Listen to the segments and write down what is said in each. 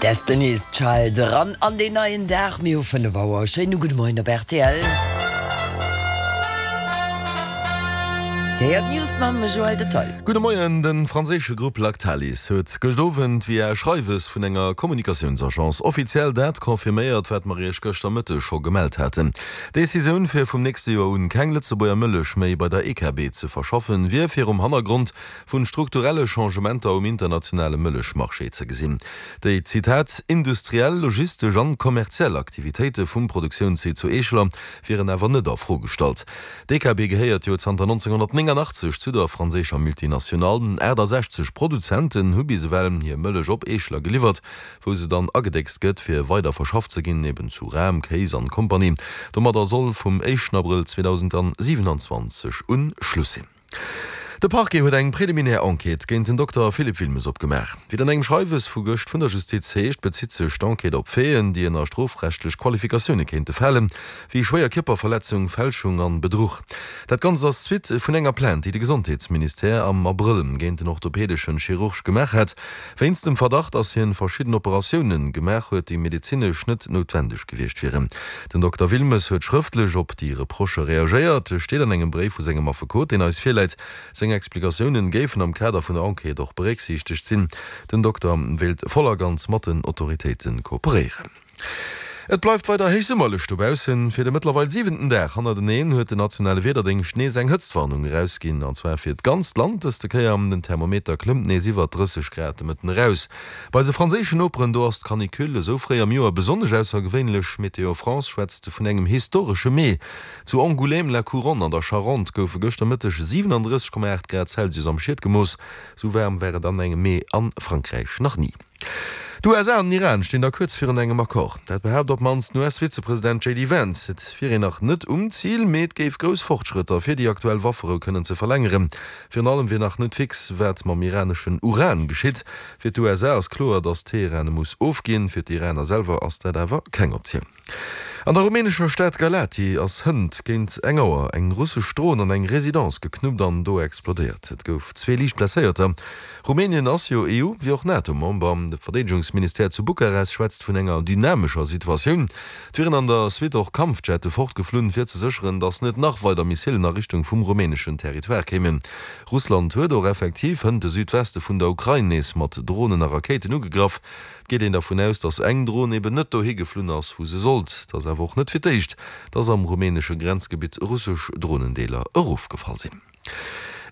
Destiny's Child eran an deen neien Dag. Mir hu 5 Auer. Schéine gudde Moien op rtl. Dir héiert d'News mam Joël Detaille. Gudde Moien. De franséische Grupp Lactalis huet gëscht Owend via e Schreiwes vun enger Kommunikatiounsagence offiziell dat confirméiert, wat mer Iech gëschter Mëtteg scho gemellt haten. D'Decisioun, fir vum nächste Joer un keng Lëtzebuerger Mëllech méi bei der EKB ze verschaffen, wier virum Hannergrond vun strukturelle Changementer um internationale Mëllechmarché ze gesinn. Déi, Zitat, industriell, logistesch an kommerziell Aktivitéite vum Produktiounssite zu Eescheler wieren awer net a Fro gestallt. D'EKB gehéiert jo zanter 1989 zu der franséischer Multinationale. 68 Produzenten hu bis ewell hir Mëllech op Eescheler geliwwert, wou se dann agedéckst gëtt, fir weider verschafft ze ginn, eben zu Ram, Kéis an Kompanie. Domadder soll vum éischten Abrëll 2027 un Schluss sinn. De Parquet huet eng preliminär Enquête géint den Dokter Philippe Wilmes opgemaach. Wéi et an engem Schreiwes vu gëscht vun der Justiz heescht, bezitt sech d'Enquête op Faiten, déi ënner strofrechtlech Qualifikatioune kéinte falen, wéi schwéier Kierperverletzung, Fälschung an Bedruch. Dat Ganzt ass d'Suite vun enger Plainte, déi de Gesondheetsministère am Abrëll géint den orthopedeschen Chirurg gemaach hat, wéinst dem Verdacht, dass hien verschidden Operatiounen gemaach huet, déi medezinesch net noutwendeg gewiescht wieren. Den Dokter Wilmes huet schrëftlech op déi Reprochë reagéiert, steet an engem Bréif vu sengem Affekot, deen eis virläit. Seng Explikatiounen géifen am Kader vun der Enquête och berécksiichtegt sinn. Den Dokter wéilt voll a ganz mat den Autoritéite kooperéieren. Et bleift weider héichsummerlech dobaussen. Fir de mëttlerweil siwenten Dag hannerteneen huet den nationale Wiederdéngscht nees eng Hëtztwarnung erausginn, an zwar fir d'ganzt Land dëste Kéier. Den Thermometer klëmmt nees iwwer 30 Grad de Mëtten eraus. Bei eise franséischen Noperen, do ass d'Canicule esou fréi am Joer besonnesch aussergewéinlech. Météo France schwätzt vun engem historesche Mee. Zu Angoulême-la-Couronne an der Charente goufe gëschter Mëtteg 37,8 Grad Celsius am Schied gemooss. Sou waarm war et an engem Mee a Frankräich nach ni. D'USA an den Iran stinn da kuerz virun engem Accord. Dat behaapt op d'mannst den US-Vizepresident JD Vance. Et wier een nach net um Zil, mee et géif grouss Fortschrëtter fir déi aktuell Wafferou kënnen ze verlängeren. Virun allem wier nach net fix, wat mam iraneschen Uran geschitt. Fir d'USA ass kloer, datt Teheran e muss ofginn. Fir d'Iraner selwer ass dat awer keng Optioun. An der rumänescher Stad Galati ass hënt géint eng Auer eng russesch Dron an eng Residence geknuppt an do explodéiert. Et gouf zwee liicht Blesséierter. Rumänien ass jo EU wéi och NATO-Member. De Verdeedegungsministère zu Bukarest schwätzt vun enger dynamescher Situatioun. Et wieren an der Suite och Kampfjette fortgeflunn, fir ze sécheren, datt net nach weider Missilen a Richtung vum rumäneschen Territoire kéimen. Russland huet och effektiv hënt de Südweste vun der Ukrain nees mat Dronen a Rakéiten ugegraff. Et geet een dervun aus, datt eng Dron eben net dohi geflunn ass, wou se sollt. Et ass awer och net fir d'éischt, datt am rumänesche Grenzgebitt russesch Dronendeeler erofgefall sinn.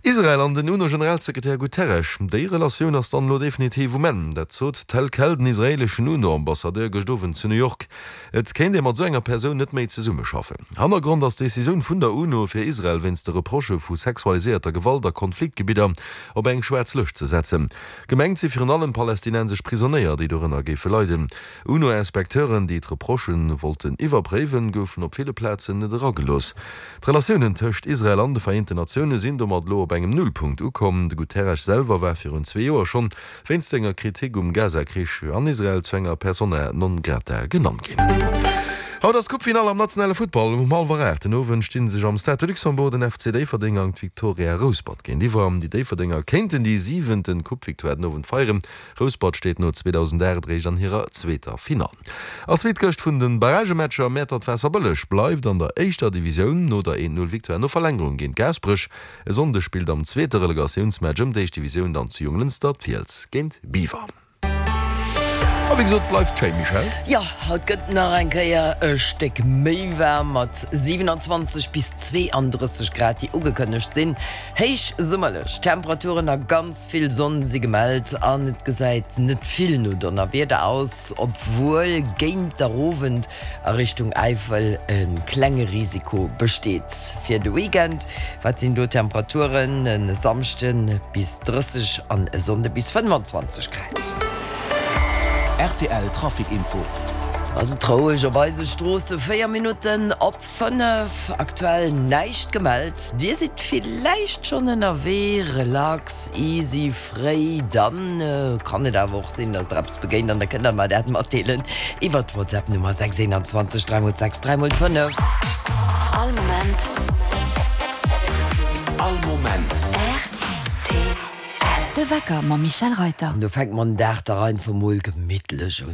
Israel an den UNO-Generalsekretär Guterres, déi Relatioun ass dann elo definitiv um Enn. Dat sot tel quel den israeeleschen UNO-Ambassadeur gëscht Owend zu New York. Et kéint ee mat esou enger Persoun net méi zesummeschaffen. Hannergrond ass d'Decisioun vun der UNO, fir Israel wéinst de Reprochë vu sexualiséierter Gewalt a Konfliktgebidder op eng schwaarz Lëscht ze setzen. Gemengt si virun allem palästinensesch Prisonéier, déi dorënner géife leiden. UNO-Inspecteuren, déi d'Reprochë wollten iwwerpréiwen, goufen op ville Plazen net eragelooss. D'Relatiounen tëscht Israel an de Vereenten Natioune sinn domat elo op engem Nullpunkt ukomm. De Guterres selwer war virun zwee Joer schonn wéinst senger Kritik um Gaza-Krich an Israel zu enger Persona non grata genannt ginn. Haut ass d'Coupe-Finall am nationale Futtball. Um hallwer 8 den Owend sti sech am Stade de Luxembourg den FC Déifferdeng an d'Victoria Rouspert géintiwwer. Déi Déifferdenger kéinten déi siwenten Coupe-Victoire den Owend feieren. Rouspert steet no 2008 eréischt an hirer zweeter Finall. A Suite gëscht vun de Barragematcher, Mäertert-Waasserbëlleg bleift an der éischter Divisioun no der 1, 0 Victoire no Verlängerung géint Gaasperech. E Sonndeg spillt am zweete Relegatiounsmatch ëm d'éischt Divisioun dann zu Jonglënster d'Fiels géint Biwer. A wéi gesot, bleift schéi, Michèle. Jo, haut gëtt nach eng Kéier e Stéck méi waarm mat 27 bis 32 Grad, déi ugekënnegt sinn. Héich summerlech Temperaturen a ganz Vill Sonn si gemellt an et gesäit net vill no Donnerwieder aus, obwuel géint der Owend a Richtung Äifel e klenge Risiko besteet. Fir de Weekend, wat sinn do d'Temperaturen? E Samschde bis 30 an e Sonnde bis 25 Grad. Rtl Trafic Info. Ass et roueg op eise Stroosse? 4 Minutten op 5, aktuell näischt gemellt. Dir sidd villäicht schonn ënnerwee, relax, easy, fréi. Dann kann et awer och sinn, dass der eppes begéint an da kënnt der mer dat matdeelen iwwer d'Whatsapp Nummer 6 21 3 x 6 3 x 5. All Moment. All Moment. Rtl. De Wecker mam Michel Reiter. An do fänkt mer den Dag dach einfach mol gemittlech un.